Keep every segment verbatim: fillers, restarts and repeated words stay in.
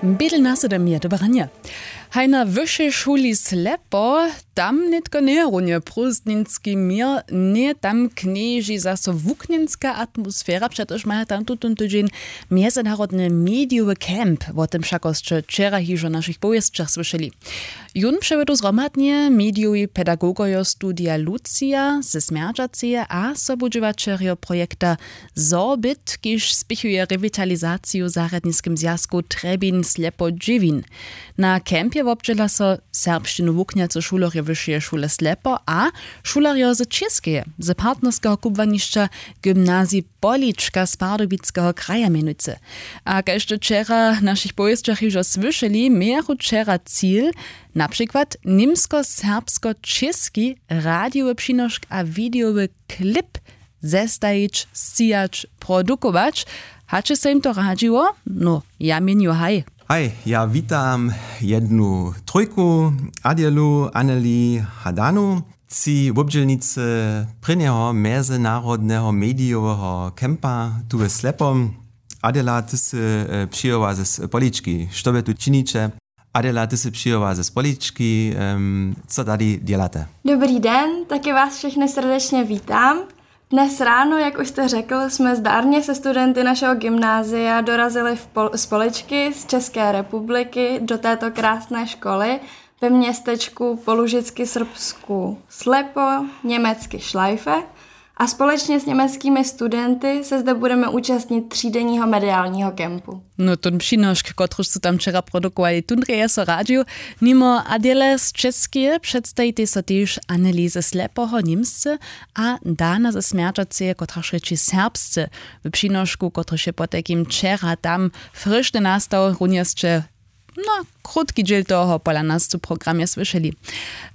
Bědl na sydom je dobre ranje. Haj na wyšej šuli Slepo, tam nětko njeje runje prózdninski měr, njeje tam knježi zaso wuknjenska atmosfera, přetož maja tam tutón tydźeń mjezynarodny medijowy camp. Wo tym wšakosće wčera hižo w našich powěsćach słyšeli. Jón přewjedu zhromadnje medijowi pedagogojo studija Lucija ze Smjerdźaceje a sobudźěłaćerjo projekta Sorbit, kiž spěchuje rewitalizaciju w zarjadniskim zwjazku Trjebin Slepo Dźěwin. Na campje wobdźěla so serbšćinu wuknjacy šulerjo wyšeje šule Slepo a šulerjo z Čěskeje, z partnerskeho kubłanišća gymnazij Polička z Pardubickeho kraja mjenujcy. A kaž to wčera w našich powěsćach hižo słyšeli, mějachu wčera cil, na přikład němsko-serbsko-čěski radijowy přinošk a widejowy klip zestajić, scijać, produkować. Hač je so jim to radźiło? No, ja měnju haj. Haj, ja witam jednu trójku, Adjelu, Anneli, Hadanu, tři wobdźělnicy prěnjeho mjezynarodneho medijoweho kempa tu w Slepom. Adela, ty sy e, přijěła z Polički. Što wy tu činiće? Adela, ty sy přijěła z Polički. Em, co tady dělate? Dobrý den, taky vás všechny srdečně vítám. Dnes ráno, jak už jste řekl, jsme zdarně se studenty našeho gymnázia dorazili v Pol- z Poličky z České republiky do této krásné školy ve městečku po lužicky srbsku Slepo, německy Schleife. A společně s německými studenty se zde budeme účastnit třídenního mediálního kempu. No, ten přinošk, kotryž su tam wčera produkowali, tundrje je so radźił. Nimo Adele z Českeje předstajitej so tež Anneliese Slepoho, němsce, a Dana ze Smjerdźaceje, kotraž rěči serbsce. W přinošku, kotryž je potajkim wčera tam fryšny nastał, runje sće, no, krótki dźěl toho pola nas w programje słyšeli.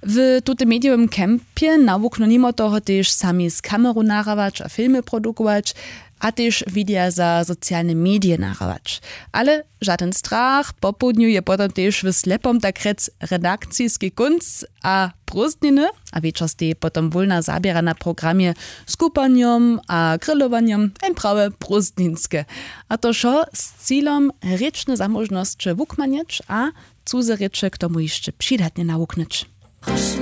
W tutym medijowym campje nawuknu nimo toho tež sami z kameru nahrawać a filmy produkować, a tež wideja za socialne medije nahrawać. Ale žadyn strach, popołdnju je potom tež w Slepom tak rjec redakciski kónc a prózdniny, a wječor steji potom wólna zaběra na programje z kupanjom a grilowanjom, jen prawe prózdninske. A to wšo z cilom, rěčne zamóžnosće wukmanjeć a cuze rěče k tomu hišće přidatnje nawuknyć. Prošu